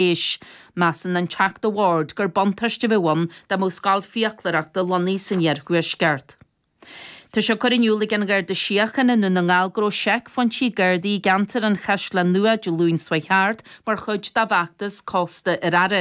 Éis. Measann an Teachta Ward gur buntáiste a bheadh ann dá mbeadh scoil fiaclóireachta lonnaithe san iarthuaisceart. Tá sé curtha in iúl ag an Gharda Síochána i nDún na nGall go raibh seicphointí Gardaí i gceantar an Chaisleáin Nua Dé Luain seo chuaigh thart mar chuid dá bhfeachtas Cósta ar Aire.